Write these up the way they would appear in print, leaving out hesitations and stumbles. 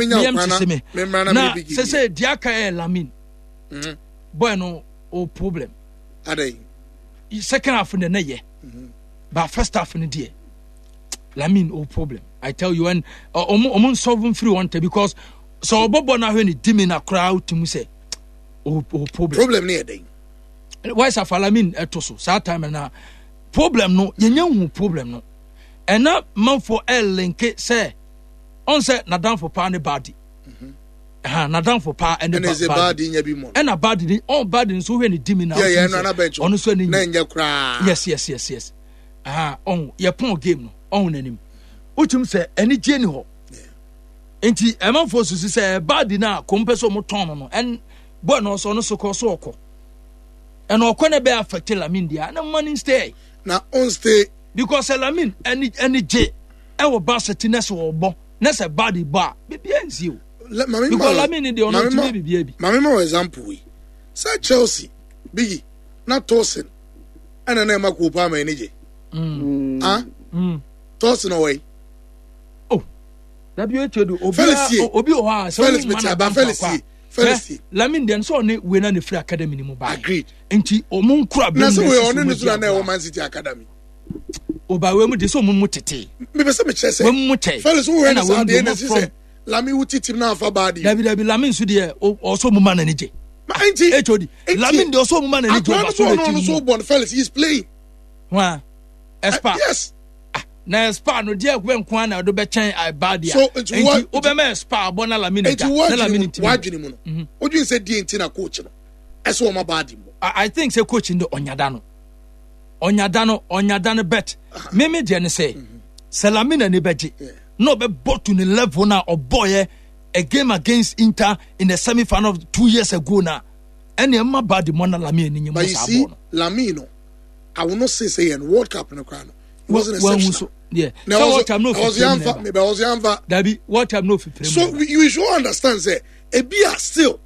Meyam sese me na sese deɛ aka yɛ Lamin. Boy no o problem. Adai. Second half no na yɛ. But first half no deɛ Lamin o problem. I tell you, and ɔmo ɔmo nsɔfo mfiri wɔn tɛ because sɛ ɔbɔbɔ na ahwɛ ne di mi na koraa otumi sɛ o o problem. Problem ne yɛ dɛn? Why sɛ Lamin ɛto so saa time na problem no yɛnyɛ hu problem no ɛna manfoɔ ɛlinke sɛ ɔn sɛ n'adanfo paa ne baadi. Ha n'adanfo paa ɛne baadi ɛna baadi ni ɔn baadi nso hwɛ ne di mi na ɔno nso ɛne nyɛ. Yes. Aha ɔn yɛ pɔn game no ɔn n'anim wotum sɛ anigye ni hɔ nti ɛmanfoɔ susu sɛ ɛbaa di no a kɔn pɛ sɛ ɔmo tɔn no no ɛn bɔɔl no ɔsɔ no so kɔ so ɔkɔ ɛna ɔkɔ na ɛbɛyɛ affect Lamin deɛ ɛna mo ma stay na on stay because Lamin ɛni ɛni gye ɛwɔ Barca ti na sɛ ɔbɔ na sɛ baadi bɔ a bibi ɛnsi o because Lamin ni deɛ ɔno ɔtumi bibi ɛbi. Maame ma wɔ example yi sɛ Chelsea bigi na Tosin ɛna na ɛma kuo paa ma ani gye mm. ah mm. Tɔɔsi na ɔwɔ yi. Oh, dabi o etu edu obi a obi wɔ hɔ a sɛ Felix meti aba Felix ye Felix ye. Lamin deɛ nsɛ ɔne wei na ne firi academy ni mu ba. Agreed. Nti ɔmo nkura bɛn na sɛ wei ɔne ne so na na ɛwɔ Man City academy. Oba wei mu de sɛ ɔmo mu tete. Mepɛ sɛ mekyerɛ sɛ. Wei mu kyɛ. Felix wo wɛ ne saa deɛ na ɛsi sɛ Lamin wo titi na afa baa deɛ. Dabi dabi Lamin nso deɛ ɔsɔ mu ma n'ani gye. Nti HOD Lamin deɛ ɔsɔ mu ma n'ani gye ɔba so na ti mu. Akora no so bɔ no Felix he is playing. Hwan Espa. Yes. Ah, na Espa no deɛ ɛkubɛ nko ara na ɔde bɛkyɛn ɛba deɛ. So nti wa nti wobɛma Espa abɔ na Lamin agya na Lamin ntumi. Wadwene mu no. Mhm. Wodwene sɛ deɛ nti na coach no ɛsɛ wɔn aba adi mu. I think sɛ coach no de ɔnyada no ɔnyada no ɔnyada no bet mímí deɛ ne sɛ mhm. sɛ Lamin ani bɛgye na ɔbɛbɔ to ne level na ɔbɔɔyɛ a game against Inter in the semi final 2 years ago na ɛne ɛma ba de mɔ na Lamin ani nye mɔ saa bɔɔl no. Lamin no I will not say say yɛn World Cup no koraa no he wasn't exceptional. So, yeah. Na so World Cup no fi pere mu neba. Ɔsɛ yanfa. Dabi World Cup no fi pere mu. So you should understand say ebi a still.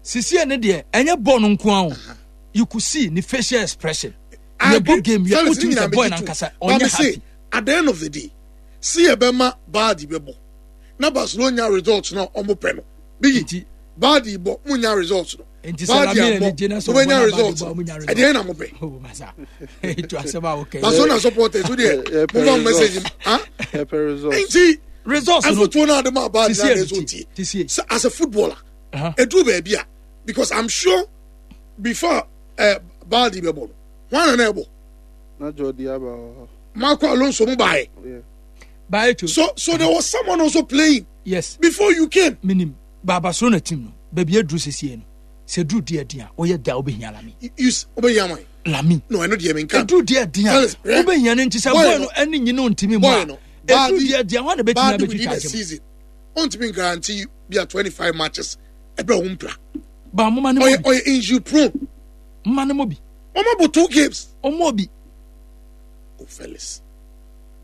Sisi ɛne deɛ ɛnyɛ bɔɔl no nko ara o. You could see ne facial expression. Yɛ bɔ game yɛ wotumi sɛ bɔɔl nankasa ɔnyɛ happy. At the end of the day, si yɛ bɛ ma baadi bɛ bɔ na Barcelona nya results na ɔmo pɛ no. Bigi baadi bɔ mo nya results no. Nti sɛ Lamine ani gye na sɛ ɔbɔ na baadi bɔ ɔmo nya results. Ɛdeɛ na mo pɛ. Oh masa etu asɛm a wokɛ. Barcelona supporters wo deɛ mo ma message ah. Nti results no afotuo na ade ma baadi na ade so tie. Sɛ as a footballer eduru baabi a because I'm sure before baadi bɛ bɔ no wɔn na na ɛbɔ. Na Jordi Alba wɔ hɔ. Marco Alonso mo baayɛ. Baayɛ to. So there was someone also playing. Yes. Before you came. Minim. Ba Barcelona team no baabi aduru sesie no sɛ duru deɛ ɛden a woyɛ da wobɛhia Lamin. Wobɛhia wan? Lamin. No ɛno deɛ menka. Ɛduru deɛ ɛden a wobɛhia no nti sɛ boy no ɛne nyine ntumi mu a ɛduru deɛ ɛden a hwan na bɛtumi abɛtwi charge mu. Season ɔntumi guarantee bi a 25 matches ɛbɛ ho mpira. Ba moma ne mo bi. Ɔyɛ injury prone. Moma ne mo bi. Ɔmo bɔ two games. Ɔmo bi. O Felix.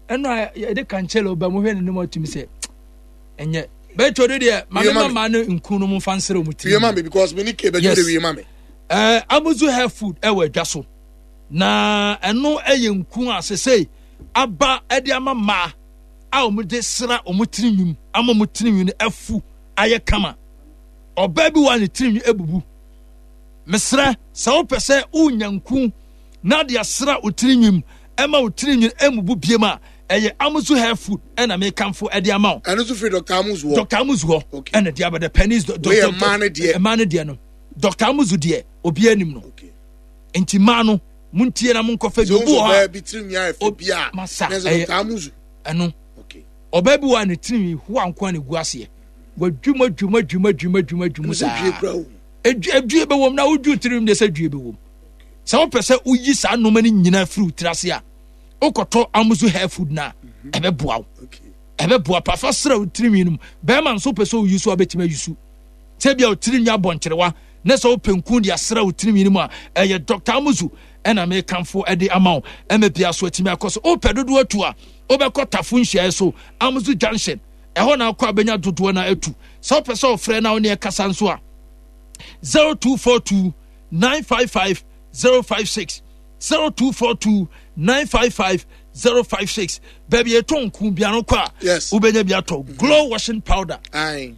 Ɛno a yɛde Cancelo ba mu hwɛ ne nim atumi sɛ ɛnyɛ bɛtwa do deɛ maame ma maa no nkun no mu nfa nsere wɔn tiri. Wie ma mi because mi ni ke bɛtwa de wie ma mi. Ɛɛ Amuzu hair food ɛwɔ adwa so na ɛno ɛyɛ nkun a sese aba ɛde ama mmaa a wɔn de sra wɔn tiri nwim ama wɔn tiri nwim no afu ayɛ kama ɔbaa bi wɔ a ne tiri nwim ebubu mesrɛ sɛ wopɛ sɛ wonya nkun na de asra wo tiri nwim ɛma wo tiri nwim emubu biem a ɛyɛ Amuzu hair food ɛna mekamfo ɛde ama wo. Ɛno nso firi Dr. Amuzu hɔ. Dr. Amuzu hɔ ɛna de aba the pennies. Wei yɛ mmaa no deɛ. Mmaa no deɛ no Dr. Amuzu deɛ obiara nim no. Nti mmaa no montie na monkɔfa bi obi wɔ hɔ a. Bi tiri nwi ayɛ fɛ bi a. Masa ɛyɛ ɛno. Ɔbaa bi wɔ a ne tiri nwi hoa nko a na egu aseɛ. Wadwum adwum adwum adwum adwum adwum saa. Edwie bɛwɔ mu na wodwu tiri nwi deɛ sɛ dwie bɛwɔ mu. Sɛ wopɛ sɛ woyi saa nneɛma no nyinaa firi wo tiri ase a wokɔtɔ Amuzu hair food no a ɛbɛboa wo ɛbɛboa pa fa srɛ wo tirinwi no mu bɛrima nso wopɛ sɛ woyi so a wobɛtumi ayi so sɛ bia wo tirinwi abɔ nkyerewa na sɛ wopɛ nku de asrɛ wo tirinwi no mu a ɛyɛ Dr. Amuzu ɛna mekamfo ɛde ama wo ɛma bia so atumi akɔ so wopɛ dodoɔ atu a wobɛkɔ Tafo nhyiaeɛ so Amuzu Junction ɛhɔ na akɔ abɛnya dodoɔ no atu sɛ wopɛ sɛ ɔfrɛ na wo ne ɛkasa nso a 0242 955 056 0242 955 056 baabi yɛtɔ nku biara kɔ a wobɛnya bi atɔ glow washing powder. Aye.